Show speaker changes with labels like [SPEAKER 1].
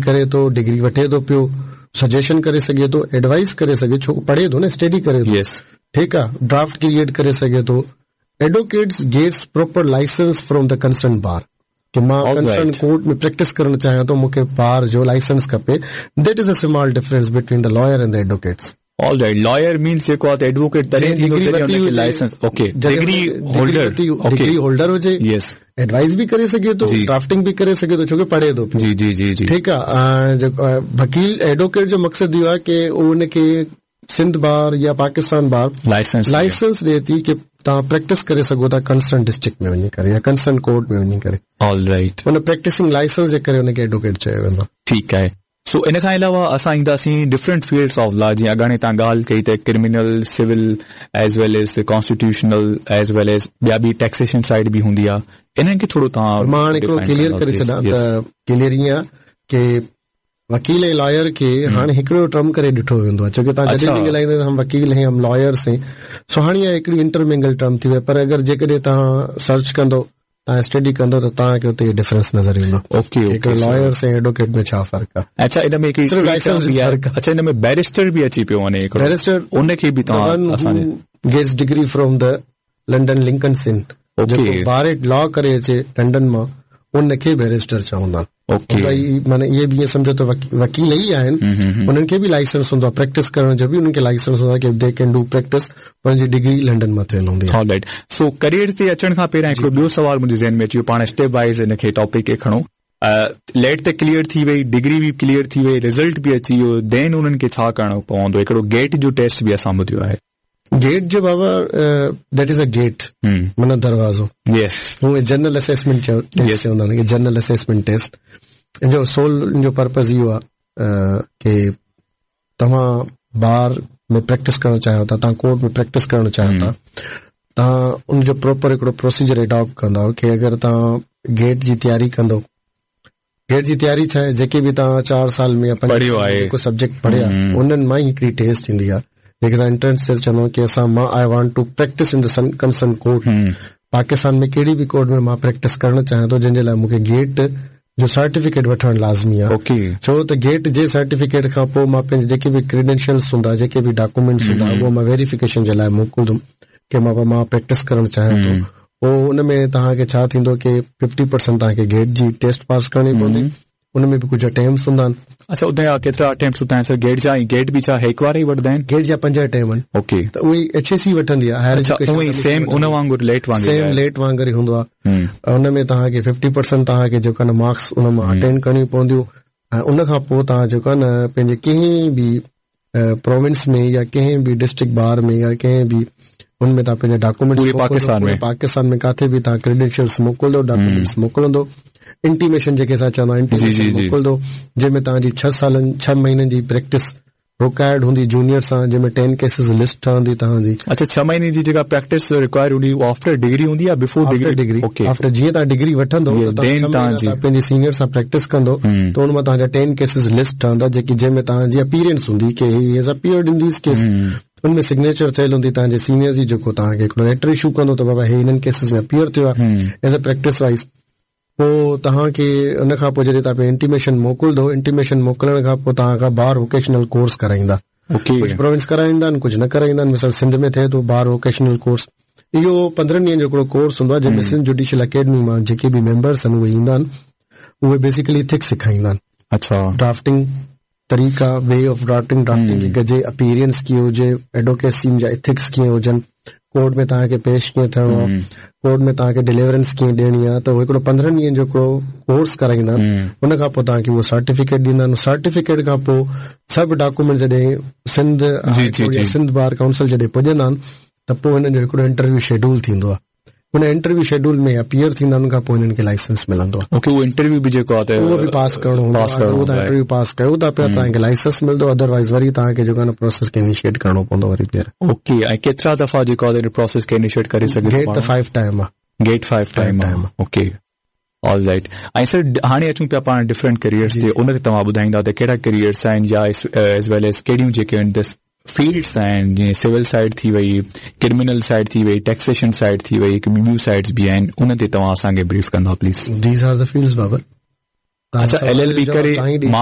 [SPEAKER 1] ڪري ٿو، ڊگري وٺي ٿو پيو، سجيشن ڪري سگهي ٿو، ايڊوائيز ڪري سگهي ڇو پڙهي ٿو نه اسٽڊي ڪري ٿو. ٺيڪ آ، ڊرافٽ ڪريئيٽ ڪري سگهي ٿو. Advocates gets proper licence from the concern bar ڪي مان ڪنسرن ڪورٽ ۾ پريڪٽس ڪرڻ چاهيان ٿو مون کي بار جو لائسنس کپي. That is a small difference between the lawyer and the advocates.
[SPEAKER 2] All right, lawyer means جيڪو آ ته ايڊووڪيٽ تڏهن ٿيندو جڏهن ان کي licence, okay, degree holder,
[SPEAKER 1] degree holder هجي، يس، ايڊوائيز به ڪري سگهي ٿو، ڊرافٽنگ به ڪري سگهي ٿو ڇو ڪي پڙهي ٿو
[SPEAKER 2] پيو. جي جي جي جي
[SPEAKER 1] ٺيڪ آ، وڪيل ايڊووڪيٽ جو مقصد اهو آ ڪي ان کي سنڌ بار يا پاڪستان بار
[SPEAKER 2] لائسنس
[SPEAKER 1] لائسنس ڏئي ٿي ڪي توهان پريڪٽس ڪري سگهو ٿا ڪنسرن ڊسٽرڪٽ ۾ وڃي ڪري يا ڪنسرن ڪورٽ ۾ وڃي ڪري.
[SPEAKER 2] All right.
[SPEAKER 1] ان پريڪٽسنگ لائسنس جي ڪري ان کي ايڊووڪيٽ چيو ويندو آ.
[SPEAKER 2] ٺيڪ آهي. سو ان کان علاوه اسان اينداسين ڊفرنٽ فيلڊس آف لا جيئن اڳاڻي توهان ڳالهه ڪئي ته criminal, civil as well as constitutional as well as ٻيا به ٽيڪسيشن سائيڊ به هوندي آهي انهن کي ٿورو توهان
[SPEAKER 1] مان هاڻي هڪڙو ڪليئر ڪري ڇڏان ته ڪليئر ائين آهي ڪي وڪيل ۽ لائر کي هاڻي هڪڙو ٽرم ڪري ڏٺو ويندو آهي ڇو ڪي توهان جڏهن به ڳالهائيندا آهيو هم وڪيل هين هم لائرس هين سو هاڻي اها هڪڙي انٽرمنگل ٽرم ٿي وئي پر اگر جيڪڏهن توهان سرچ ڪندو توهان اسٽڊي ڪندو ته توهان کي اتي اهو ڊفرنس نظر ايندو.
[SPEAKER 2] اوڪي اوڪي
[SPEAKER 1] هڪڙو لائرس ۽ ايڊووڪيٽ ۾ ڇا فرق آهي.
[SPEAKER 2] اڇا ان ۾ هڪڙي
[SPEAKER 1] صرف لائسنس جو فرق
[SPEAKER 2] آهي. اڇا ان ۾ بيرسٽر به اچي پيو وڃي
[SPEAKER 1] هڪڙو بيرسٽر
[SPEAKER 2] ان کي به توهان
[SPEAKER 1] اسان جي gets degree from the London Lincoln's Inn جيڪو بار ايٽ لا ڪري اچي لنڊن مان ان کي بيرسٽر چوندا آهن.
[SPEAKER 2] اوڪي
[SPEAKER 1] ڀائي معنيٰ اهي به ائين سمجهو ته وڪيل ئي آهن انهن کي به لائسنس هوندو آهي پريڪٽس ڪرڻ جو به انهن کي لائسنس هوندو آهي ڪي the ڪين do practice انهن جي ڊگري لنڊن مان ٿيل هوندي
[SPEAKER 2] آهي. آل رائيٽ سو ڪريئر تي اچڻ کان پهريان هڪڙو ٻيو سوال منهنجي ذهن ۾ اچي ويو پاڻ اسٽيپ وائيز ان کي ٽاپڪ کي کڻو ليٽ ته ڪليئر ٿي وئي ڊگري به ڪليئر ٿي وئي رزلٽ به اچي ويو دين انهن کي ڇا ڪرڻو پوندو هڪڙو گيٽ جو ٽيسٽ به اسان ٻڌيو آهي.
[SPEAKER 1] گيٽ جو بابا that is a gate معنيٰ دروازو
[SPEAKER 2] يس
[SPEAKER 1] هو جنرل اسيسمينٽ چيو ٽيسٽ چوندا آهن جنرل اسيسمينٽ ٽيسٽ ان جو سول ان جو پرپز اهو آهي ڪي توهان بار ۾ پريڪٽس ڪرڻ چاهيو ٿا توهان ڪورٽ ۾ پريڪٽس ڪرڻ چاهيو ٿا توهان ان جو پراپر هڪڙو پروسيجر اڊاپٽ ڪندا ڪي اگر توهان گيٽ جي تياري ڪندو گيٽ جي تياري ڇا آهي جيڪي به توهان 4 سال ۾ يا 5
[SPEAKER 2] پڙهيو آهي
[SPEAKER 1] جيڪو سبجيڪٽ پڙهيا انهن مان ئي هڪڙي ٽيسٽ ٿيندي آهي جيڪي اسان انٽرنس ٽيسٽ چوندا آهيون ڪي اسان مان I want to practice in the concern court Pakistan ۾ ڪهڙي به ڪورٽ ۾ مان پريڪٽس ڪرڻ چاهيان ٿو جنهن جي لاء مون کي گيٽ جو سرٽيفڪيٽ وٺڻ لازمي
[SPEAKER 2] آهي اوڪي
[SPEAKER 1] ڇو ته گيٽ جي سرٽيفڪيٽ کان پوء مان پنهنجي جيڪي به ڪريڊينشلز هوندا جيڪي به ڊاڪومينٽس هوندا اهو مان ويريفڪيشن جي لاء موڪلندم ڪي مان پريڪٽس ڪرڻ چاهيان ٿو پوء ان ۾ توهان کي ڇا ٿيندو ڪي ففٽي پرسنٽ توهان کي گيٽ جي ٽيسٽ پاس ڪرڻي پوندي ان ۾ به ڪجهه اٽيمپس هوندا آهن.
[SPEAKER 2] اڇا اتي جا ڪيترا اٽيمپس هوندا آهن سر گيٽ جا ۽ گيٽ به ڇا هڪ واري ئي وٺندا آهن؟
[SPEAKER 1] گيٽ جا 5 اٽيمپ آهن.
[SPEAKER 2] اوڪي.
[SPEAKER 1] ته اهي ايڇ اي سي وٺندي آهي هائر
[SPEAKER 2] ايجوڪيشن اڇا اهي سيم ان وانگر ليٽ وانگر
[SPEAKER 1] سيم ليٽ وانگر ئي هوندو آهي ان ۾ توهان کي ففٽي پرسنٽ توهان کي جيڪو آهي نه مارڪس ان مان اٽينڊ ڪرڻيون پونديون ۽ ان کان پوء توهان جيڪو آهي نه پنهنجي ڪنهن به پروونس ۾ يا ڪنهن به ڊسٽرڪٽ بار ۾ يا ڪنهن به ان ۾ توهان پنهنجا ڊاڪومينٽس
[SPEAKER 2] پوري پاڪستان ۾
[SPEAKER 1] پاڪستان ۾ ڪاٿي به توهان ڪريڊينشلز موڪلندو ڊاڪومينٽس موڪلندو انٽيميشن جيڪي اسان چوندا آهيون انٽيميشن موڪلندو جنهن ۾ توهان جي 6 سالن 6 مهينن جي پريڪٽس رڪوائرڊ هوندي جونيئر سان جنهن ۾ 10 ڪيسز لسٽ ٺهندي توهان جي.
[SPEAKER 2] اڇا 6 مهيني جي جيڪا پريڪٽس رڪوائرڊ هوندي اها آفٽر ڊگري هوندي يا before
[SPEAKER 1] degree? After degree after جيئن توهان ڊگري وٺندو ته توهان 6 مهينا توهان پنهنجي سينيئر سان پريڪٽس ڪندو ته ان مان توهان جا 10 ڪيسز لسٽ ٺهندا جيڪي جنهن ۾ توهان جي اپيئرنس هوندي ڪي he has appeared in these case in ۾ signature ٿيل هوندي توهان جي سينيئر جي جيڪو توهان کي هڪڙو ليٽر اشو ڪندو ته بابا هي هنن ڪيسز ۾ اپيئر ٿيو آهي ايز اي پريڪٽس وائز پوء توهان کي ان کان پوء جڏهن توهان پنهنجي انٽيميشن موڪلندو انٽيميشن موڪلڻ کان پوء توهان کان بار ووڪيشنل ڪورس ڪرائيندا ڪجهه پروونس ڪرائيندا آهن ڪجهه نه ڪرائيندا آهن مثال سنڌ ۾ ٿئي ٿو بار ووڪيشنل ڪورس اهو 15 ڏينهن جو هڪڙو ڪورس هوندو آهي جنهن ۾ سنڌ جوڊيشل اڪيڊمي مان جيڪي به ميمبرس آهن اهي ايندا آهن اهي بيسيڪلي ايٿڪس سيکاريندا آهن.
[SPEAKER 2] اڇا.
[SPEAKER 1] ڊرافٽنگ طريقا وي آف ڊرافٽنگ ڊرافٽنگ ڪيئن ڪجي اپيئرنس ڪيئن هجي ايڊووڪيسي جا ايٿڪس ڪيئن هجن ڪورٽ ۾ توهان کي پيش ڪيئن ٿيڻو آهي ڪورٽ ۾ توهان کي ڊليورنس ڪيئن ڏيڻي آهي ته هڪڙو 15 ڏينهن جو هڪڙو ڪورس ڪرائيندا آهن ان کان پوء توهان کي اهو سرٽيفڪيٽ ڏيندا آهن سرٽيفڪيٽ کان پوء سڀ ڊاڪومينٽس جڏهن سنڌ يا سنڌ بار ڪائونسل جڏهن پڄندا آهن ته پوء هنن جو هڪڙو انٽرويو شيڊول ٿيندو آهي ان انٽرويو شيڊول ۾ اپيئر ٿيندا ان کان پوء هنن کي لائسنس ملندو آهي.
[SPEAKER 2] اوڪي اهو انٽرويو به جيڪو آهي ته
[SPEAKER 1] اهو به پاس ڪرڻو هوندو آهي اگر توهان انٽرويو پاس ڪيو ٿا پيا توهان کي لائسنس ملندو ادروائز وري توهان کي جيڪو آهي نه پروسيس کي انيشيٽ ڪرڻو پوندو وري ٻيهر.
[SPEAKER 2] اوڪي ۽ ڪيترا دفعا جيڪو آهي ان پروسيس کي انيشيٽ ڪري سگهي
[SPEAKER 1] ٿو؟ گيٽ ته 5 ٽائيم
[SPEAKER 2] آهي. گيٽ 5 ٽائيم آهي اوڪي آل رائيٽ ۽ سر هاڻي اچون پيا پاڻ ڊفرنٽ ڪريئرز تي ان تي توهان ٻڌائيندا ته ڪهڙا ڪريئرز آهن يا ايز ويل ايز ڪهڙيون جيڪي آهن فيلڊس آهن جيئن سول سائيڊ ٿي وئي ڪرمنل سائيڊ ٿي وئي ٽيڪسيشن سائيڊ ٿي وئي هڪ ٻيون سائيڊز به آهن ان تي توهان اسان کي بريف ڪندا please.
[SPEAKER 1] These are the fields Babar.
[SPEAKER 2] اڇا ايل ايل بي ڪري مان